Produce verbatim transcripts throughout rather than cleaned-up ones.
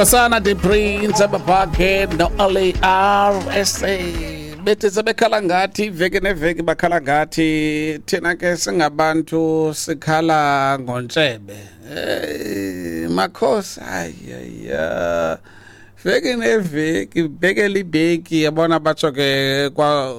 Nkosana the Prince abapakhe no-Ali R S A bethi sebekhala ngathi iveki neveki, bakhala ngathi thina ke singabantu sikhala ngontshebe. Eh makhosi, hayi hayi, veki neveki, bekele ibeki, yabona, batsho ke kwa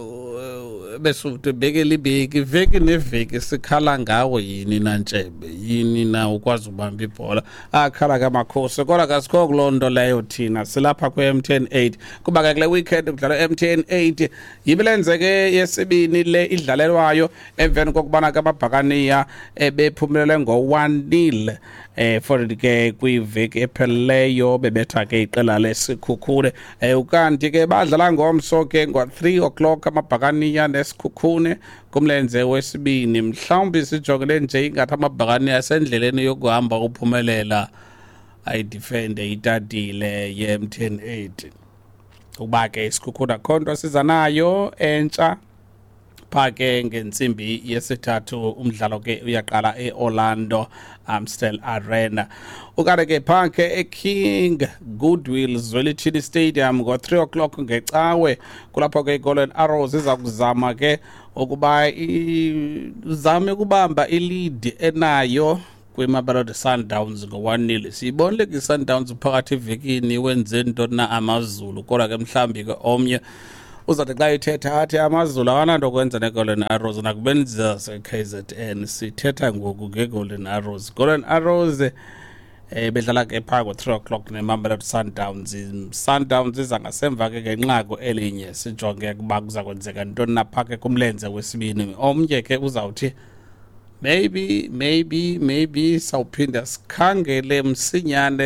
Besuthu, bekele ibeki, veki neveki sikhala ngawo. Yini na ntshebe? Yini na ukwazi ubamba ibhola? Akhala ke amakhosi, kodwa kasikho kuloo nto leyo. Thina silapha kwe-M T N eight, kuba ke kule weekend kudlalwa M T N eight, yimilenze ke yesibini le idlalelwayo emveni kokubana ke amabhakaniya ebephumelele ngo-one nil eh for ke kwiveki epheleleyo, bebetha ke iqela leSikhukhune. eh ukanti ke badlala ngomso ke ngo-three o'clock amabhakaniya neSikhukhune kumlenze wesibini. Mhlawumbi sijongele nje ingathi amabhakaniya asendleleni yokuhamba uphumelela, ayidefende itatile ye-M T N eight, ukuba ke iSikhukhune akho nto siza nayo entsha. Pha ke ngentsimbi yesithathu umdlalo ke uyaqala e-Orlando Amstel Arena. Ukanti ke pha ke eKing Goodwill Zwelithini Stadium ngo-three o'clock ngecawe, kulapho ke iGolden Arrows iza kuzama ke ukuba izame ukubamba ilead enayo kwiMamelodi Sundowns ngo-one nil. Siyibonile ke i-Sundowns phakathi evekini wenze ntoni na AmaZulu, kodwa ke mhlawumbi ke omnye uzawuthi xa ethetha athi AmaZulu akananto kwenza neGolden Arrows, nakubeni zase-K Z N. Sithetha ngoku ngeGolden Arrows. Golden Arrows eh bedlala ke phaa ngo-three o'clock neMamelodi Sundowns. Sundowns iza ngasemva ke ngenqaku elinye. Sijonge ukuba kuza kwenzeka ntoni na phaa ke kumlenze wesibini. Omnye ke uzawuthi maybe maybe maybe sawuphinda sikhangele msinyane.